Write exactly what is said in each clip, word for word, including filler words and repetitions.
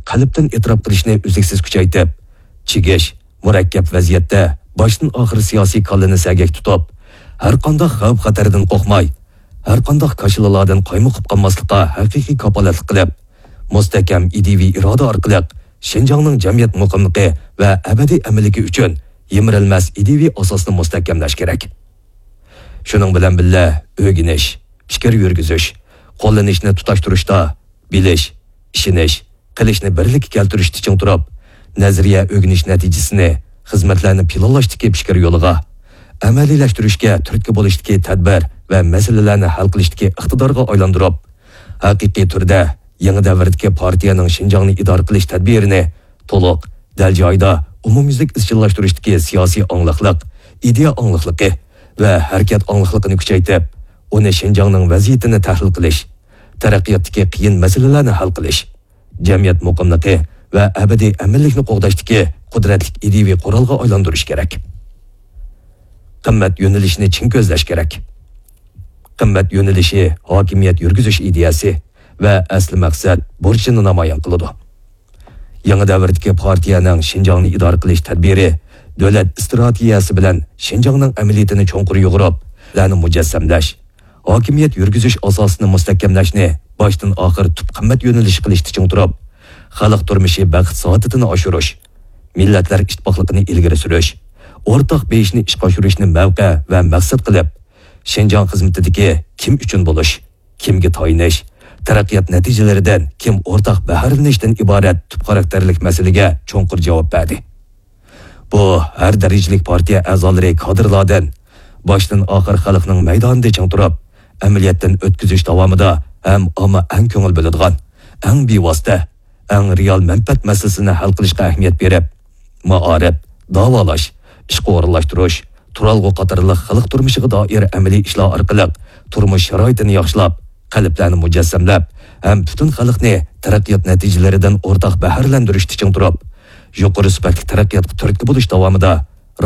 قەلبتىن ئېتىراپ قىلىشنى ئۈزلۈكسىز كۈچەيتىپ، چىگىش، مۇرەككەپ ۋەزىيەتتە باشتىن ئاخىر سىياسىي كاللىنى سەگەك تۇتۇپ، ھەرقانداق خەۋپ-خەتەردىن قورقماي، ھەرقانداق كاشىلىلاردىن قايمۇقۇپ قالماسلىققا ھەقىقىي كاپالەتلىك قىلىپ، مۇستەھكەم ئىدىيىۋى ئىرادە ئارقىلىق شىنجاڭنىڭ جەمئىيەت مۇقىملىقى ۋە ئەبەدىي ئەمىنلىكى ئۈچۈن يىمىرىلمەس ئىدىيىۋى ئاساسنى مۇستەھكەملەش كېرەك. شۇنىڭ بىلەن بىللە، ئۆگىنىش، پىكىر يۈرگۈزۈش، قوللىنىشنى تۇتاشتۇرۇشتا بىلىش، ئىشىنىش، قىلىشنى بىرلىككە كەلتۈرۈشتە چىڭ تۇرۇپ، نەزەرىيە ئۆگىنىش نەتىجىسىنى خىزمەتلەرنى پىلانلاشتىكى پىكىر يولىغا، ئەمەلىيلەشتۈرۈشكە تۈرتكە بولۇشتىكى تەدبىر ۋە مەسىلىلەرنى ھەل قىلىشتىكى ئىقتىدارغا ئايلاندۇرۇپ، ھەقىقىي تۈردە يېڭى دەۋردىكى پارتىيەنىڭ شىنجاڭنى ئىدارە قىلىش تەدبىرىنى تولۇق، دەل جايىدا، ئومۇميۈزلۈك ئىزچىللاشتۇرۇشتىكى سىياسىي ئاڭلىقلىق، ئىدىيە ئاڭلىقلىقى ۋە ھەرىكەت ئاڭلىقلىقىنى كۈچەيتىپ، ئۇنى شىنجاڭنىڭ ۋەزىيىتىنى تەھلىل قىلىش، تەرەققىياتتىكى قىيىن مەسىلىلەرنى ھەل قىلىش، جەمئىيەت مۇقىملىقى ۋە ئەبەدىي ئەمىنلىكنى قوغداشتىكى قۇدرەتلىك ئىدىيىۋى قورالغا ئايلاندۇرۇش كېرەك. قىممەت يۆنىلىشىنى چىڭ كۆزلەش كېرەك. قىممەت يۆنىلىشى ھاكىمىيەت يۈرگۈزۈش ئىدىيەسى ۋە ئەسلى مەقسەت بۇرچىنى نامايان قىلىدۇ. يېڭى دەۋردىكى پارتىيەنىڭ شىنجاڭنى ئىدارە قىلىش تەدبىرى دۆلەت ئىستراتېگىيەسى بىلەن شىنجاڭنىڭ ئەمەلىيىتىنى چوڭقۇر يۇغۇرۇپ، لەرنى مۇجەسسەملەش، ھاكىمىيەت يۈرگۈزۈش ئاساسىنى مۇستەھكەملەشنى باشتىن ئاخىر تۈپ قىممەت يۆنىلىشى قىلىشتا چىڭ تۇرۇپ، خەلق تۇرمۇشى بەخت سائادىتىنى ئاشۇرۇش، مىللەتلەر ئىتتىپاقلىقىنى ئىلگىرى سۈرۈش، ئورتاق بېيىشنى ئىشقا ئاشۇرۇشنى مەۋقە ۋە مەقسەت قىلىپ، شىنجاڭ خىزمىتىدىكى كىم ئۈچۈن بولۇش، كىمگە تايىنىش، تەرەققىيات نەتىجىلىرىدىن كىم ئورتاق بەھرىلىنىشتىن ئىبارەت تۈپ خاراكتېرلىك مەسىلىگە چوڭقۇر جاۋاب بەردى. بۇ ھەر دەرىجىلىك پارتىيە ئەزالىرى، كادىرلاردىن باشتىن ئاخىر خەلقنىڭ مەيدانىدا چىڭ تۇرۇپ، ئەمەلىيەتتىن ئۆتكۈزۈش داۋامىدا ھەم ئامما ئەڭ كۆڭۈل بۆلىدىغان، ئەڭ بىۋاسىتە، ئەڭ رېئال مەنپەئەت مەسىلىسىنى ھەل قىلىشقا ئەھمىيەت بېرىپ، مائارىپ، داۋالاش، ئىشقا ئورۇنلاشتۇرۇش، تۇرالغۇ قاتارلىق خەلق تۇرمۇشىغا دائىر ئەمەلىي ئىشلار ئارقىلىق تۇرمۇش شارائىتىنى ياخشىلاپ، قەلبلەرنى مۇجەسسەملەپ ھەم پۈتۈن خەلقنى تەرەققىيات نەتىجىلىرىدىن ئورتاق بەھرىلەندۈرۈشتە چىڭ تۇرۇپ، يۇقىرى سۈپەتلىك تەرەققىياتقا تۈرتكە بولۇش داۋامىدا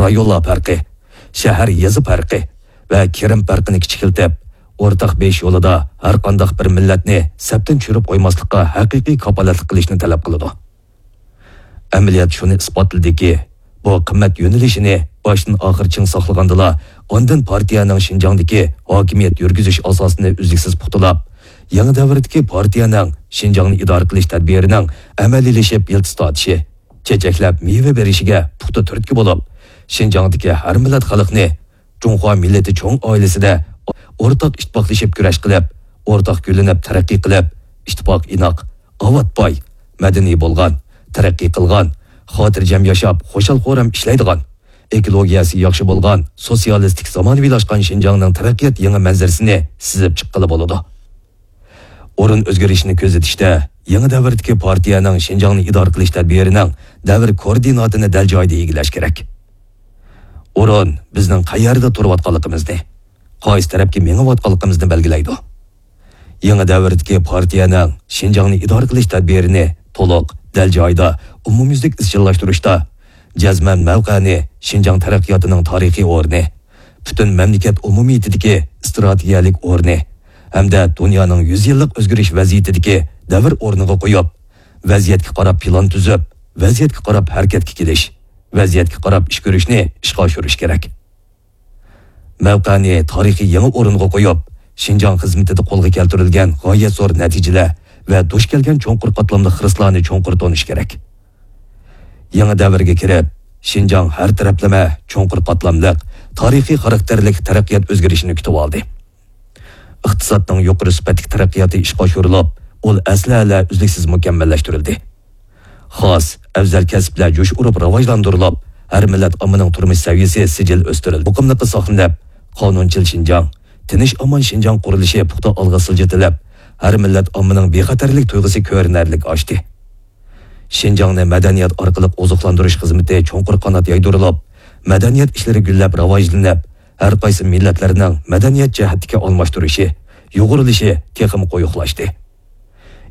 رايونلار پەرقى، شەھەر، يېزا پەرقى ۋە كىرىم پەرقىنى كىچىكلىتىپ، ئورتاق بېيىش يولىدا ھەرقانداق بىر مىللەتنى سەپتىن چۈشۈرۈپ قويماسلىققا ھەقىقىي كاپالەتلىك قىلىشنى تەلەپ قىلىدۇ. ئەمەلىيەت شۇنى ئىسپاتلىدىكى، بۇ قىممەت يۆنىلىشىنى باشتىن ئاخىر چىڭ ساقلىغاندىلا، ئاندىن پارتىيەنىڭ شىنجاڭدىكى ھاكىمىيەت يۈرگۈزۈش ئاساسىنى ئۈزلۈكسىز پۇختىلاپ، يېڭى دەۋردىكى پارتىيەنىڭ شىنجاڭنى ئىدارە قىلىش تەدبىرىنىڭ ئەمەلىيلىشىپ يىلتىز تارتىشى، چېچەكلەپ مېۋە بېرىشىگە پۇختا تۈرتكە بولۇپ، شىنجاڭدىكى ھەر مىللەت خەلقنى جۇڭخۇا مىللىتى چوڭ ئائىلىسىدە ئورتاق ئىتتىپاقلىشىپ كۈرەش قىلىپ، ئورتاق گۈللىنىپ تەرەققىي قىلىپ، ئىتتىپاق ئىناق، ئاۋات باي، مەدەنىي بولغان، تەرەققىي قىلغان، خاتىرجەم ياشاپ، خۇشال-خۇرام ئىشلەيدىغان، ئېكولوگىيەسى ياخشى بولغان، سوتسىيالىستىك زامانىۋىلاشقان شىنجاڭنىڭ تەرەققىيات يېڭى مەنزىرىسىنى سىزىپ چىققىلى بولىدۇ. ئورۇن ئۆزگىرىشىنى كۆزىتىشتە، يېڭى دەۋردىكى پارتىيەنىڭ شىنجاڭنى ئىدارە قىلىش تەدبىرىنىڭ دەۋر كوئوردىناتىنى دەل جايىدا ئىگىلەش كېرەك. ئورۇن بىزنىڭ قەيەردە تۇرۇۋاتقانلىقىمىزنى، قايسى تەرەپكە مېڭىۋاتقانلىقىمىزنى بەلگىلەيدۇ. يېڭى دەۋردىكى پارتىيەنىڭ شىنجاڭنى ئىدارە قىلىش تەدبىرىنى تولۇق، دەل جايىدا، ئومۇميۈزلۈك ئىزچىللاشتۇرۇشتا، جەزمەن مەۋقەنى شىنجاڭ تەرەققىياتىنىڭ تارىخىي ئورنى، پۈتۈن مەملىكەت ئومۇمىيىتىدىكى ئىستراتېگىيەلىك ئورنى ھەمدە دۇنيانىڭ يۈز يىللىق ئۆزگىرىش ۋەزىيىتىدىكى دەۋر ئورنىغا قويۇپ، ۋەزىيەتكە قاراپ پىلان تۈزۈپ، ۋەزىيەتكە قاراپ ھەرىكەتكە كېلىش، ۋەزىيەتكە قاراپ ئىش كۆرۈشنى ئىشقا ئاشۇرۇش كېرەك. مەۋقەنى تارىخىي يېڭى ئورۇنغا قويۇپ، شىنجاڭ خىزمىتىدە قولغا كەلتۈرۈلگەن غايەت زور نەتىجىلەر ۋە دۇچ كەلگەن چوڭقۇر قاتلاملىق خىرىسلارنى چوڭقۇر تونۇش كېرەك. يېڭى دەۋرگە كىرىپ، شىنجاڭ ھەر تەرەپلىمە چوڭقۇر قاتلاملىق، تارىخىي خاراكتېرلىك تەرەققىيات ئۆزگىرىشىنى كۈتۈۋالدى. ئىقتىسادنىڭ يۇقىرى سۈپەتلىك تەرەققىياتى ئىشقا ئاشۇرۇلۇپ، ئۇل ئەسلىھەلەر ئۈزلۈكسىز مۇكەممەللەشتۈرۈلدى. خاس، ئەۋزەل كەسىپلەر جۇش ئۇرۇپ راۋاجلاندۇرۇلۇپ، ھەر مىللەت ئاممىنىڭ تۇرمۇش سەۋىيەسى سىجىل ئۆستۈرۈلدى. مۇقىملىقى ساقلىنىپ، قانۇنچىل شىنجاڭ، تىنچ ئامان شىنجاڭ قۇرۇلۇشى پۇختا ئالغا سىلجىتىلىپ، ھەر مىللەت ئاممىنىڭ بىخەتەرلىك تۇيغۇسى كۆرۈنەرلىك ئاشتى. شىنجاڭنى مەدەنىيەت ئارقىلىق ئوزۇقلاندۇرۇش خىزمىتى چوڭقۇر قانات يايدۇرۇلۇپ، مەدەنىيەت ئىشلىرى گۈللەپ راۋاجلىنىپ، ھەر قايسى مىللەتلەرنىڭ مەدەنىيەت جەھەتتىكى ئالماشتۇرۇشى، يۇغۇرۇلۇشى تېخىمۇ قويۇقلاشتى.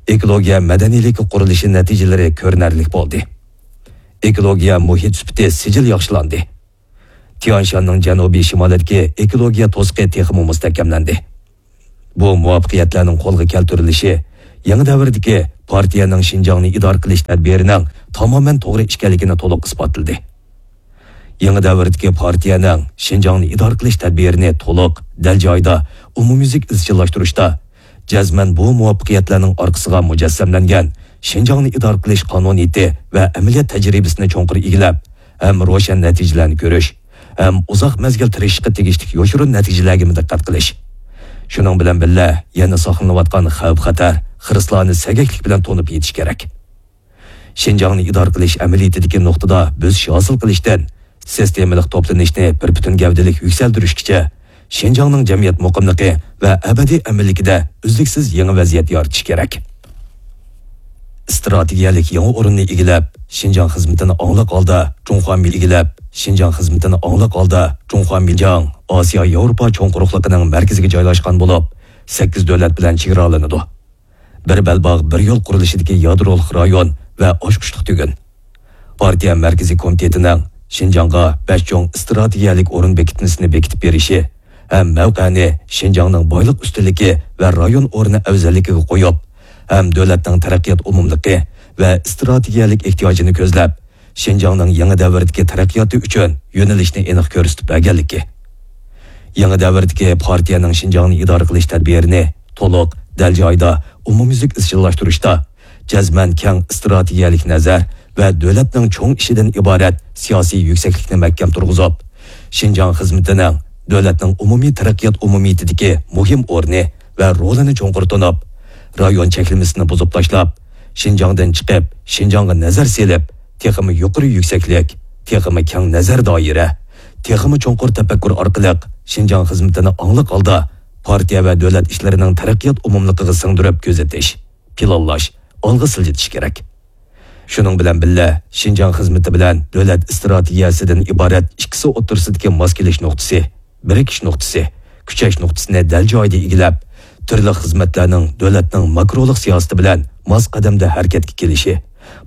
ئېكولوگىيە مەدەنىيلىكى قۇرۇلۇشى نەتىجىلىرى كۆرۈنەرلىك بولدى. ئېكولوگىيە مۇھىت سۈپىتى سىجىل ياخشىلاندى. تيانشاننىڭ جەنۇبىي شىمالىدىكى ئېكولوگىيە توسۇقى تېخىمۇ مۇستەھكەملەندى. بۇ مۇۋەپپەقىيەتلەرنىڭ قولغا كەلتۈرۈلۈشى يېڭى دەۋردىكى پارتىيەنىڭ شىنجاڭنى ئىدارە قىلىش تەدبىرىنىڭ تامامەن توغرا ئىكەنلىكىنى تولۇق ئىسپاتلىدى. يېڭى دەۋردىكى پارتىيەنىڭ شىنجاڭنى ئىدارە قىلىش تەدبىرىنى تولۇق، دەل جايىدا، ئومۇميۈزلۈك ئىزچىللاشتۇرۇشتا، جەزمەن بۇ مۇۋەپپەقىيەتلەرنىڭ ئارقىسىغا مۇجەسسەملەنگەن شىنجاڭنى ئىدارە قىلىش قانۇنىيىتى ۋە ئەمەلىيەت تەجرىبىسىنى چوڭقۇر ئىگىلەپ، ھەم روشەن نەتىجىلەرنى كۆرۈش، ھەم ئۇزاق مەزگىل تىرىشىشقا تېگىشلىك يوشۇرۇن نەتىجىلەرگىمۇ دىققەت قىلىش. شۇنىڭ بىلەن بىللە، يەنە ساقلىنىۋاتقان خەۋپ-خەتەر، خىرىسلارنى سەگەكلىك بىلەن تونۇپ يېتىش كېرەك. شىنجاڭنى ئىدارە قىلىش ئەمەلىيىتىدىكى نۇقتىدا بۆسۈش ھاسىل قىلىشتىن سىستېمىلىق توپلىنىشنى بىر پۈتۈن گەۋدىلىك يۈكسەلدۈرۈشكىچە، شىنجاڭنىڭ جەمئىيەت مۇقىملىقى ۋە ئەبەدىي ئەمىنلىكىدە ئۈزلۈكسىز يېڭى ۋەزىيەت يارىتىش كېرەك. ئىستراتېگىيەلىك يېڭى ئورۇننى ئىگىلەپ، شىنجاڭ خىزمىتىنى ئاڭلىق ھالدا جۇڭخۇا مىل ئىگىلەپ، شىنجاڭ خىزمىتىنى ئاڭلىق ھالدا جۇڭخۇا مىل، شىنجاڭ ئاسىيا ياۋروپا چوڭ قۇرۇقلۇقىنىڭ مەركىزىگە جايلاشقان بولۇپ، سەككىز دۆلەت بىلەن چېگرالىنىدۇ. بىر بەلباغ، بىر يول قۇرۇلۇشىدىكى يادرولۇق رايون ۋە ئاچقۇچلۇق تۈگۈن. پارتىيە مەركىزىي كومىتېتىنىڭ شىنجاڭغا بەش چوڭ ئىستراتېگىيەلىك ئورۇن بېكىتمىسىنى بېكىتىپ بېرىشى ھەم مەۋقەنى شىنجاڭنىڭ بايلىق ئۈستۈنلۈكى ۋە رايون ئورنى ئەۋزەللىكىگە قويۇپ، ھەم دۆلەتنىڭ تەرەققىيات ئومۇملۇقى ۋە ئىستراتېگىيەلىك ئېھتىياجىنى كۆزلەپ، شىنجاڭنىڭ يېڭى دەۋردىكى تەرەققىياتى ئۈچۈن يۆنىلىشنى ئېنىق كۆرسىتىپ بەرگەنلىكى. يېڭى دەۋردىكى پارتىيەنىڭ شىنجاڭنى ئىدارە قىلىش تەدبىرىنى تولۇق، دەل جايىدا، ئومۇميۈزلۈك ئىزچىللاشتۇرۇشتا، جەزمەن كەڭ ئىستراتېگىيەلىك نەزەر ۋە دۆلەتنىڭ چوڭ ئىشىدىن ئىبارەت سىياسىي يۈكسەكلىكنى مەھكەم تۇرغۇزۇپ، شىنجاڭ خىزمىتىنىڭ دۆلەتنىڭ ئومۇمىي تەرەققىيات ئومۇمىيىتىدىكى مۇھىم ئورنى ۋە رولىنى چوڭقۇر تونۇپ، رايون چەكلىمىسىنى بۇزۇپ تاشلاپ، شىنجاڭدىن چىقىپ، شىنجاڭغا نەزەر سېلىپ، تېخىمۇ يۇقىرى يۈكسەكلىك، تېخىمۇ كەڭ نەزەر دائىرە، تېخىمۇ چوڭقۇر تەپەككۇر ئارقىلىق شىنجاڭ خىزمىتىنى ئاڭلىق ھالدا پارتىيە ۋە دۆلەت ئىشلىرىنىڭ تەرەققىيات ئومۇملۇقىغا سىڭدۈرۈپ كۆزىتىش، پىلانلاش، ئالغا سىلجىتىش كېرەك. شۇنىڭ بىلەن بىللە، شىنجاڭ خىزمىتى بىلەن دۆلەت ئىستراتېگىيەسىدىن ئىبارەت ئىككىسى ئوتتۇرىسىدىكى ماس كېلىش نۇقتىسى، بىرىكىش نۇقتىسى، كۈچەش نۇقتىسىنى دەل جايىدا ئىگىلەپ، تۈرلۈك خىزمەتلەرنىڭ دۆلەتنىڭ ماكرولۇق سىياسىتى بىلەن ماس قەدەمدە ھەرىكەتكە كېلىشى،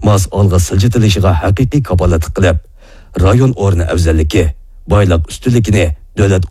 ماس ئالغا سىلجىتىلىشىغا ھەقىقىي كاپالەتلىك قىلىپ، رايون ئورنى ئەۋزەللىكى، بايلىق ئۈستۈنلۈكىنى دۆلەت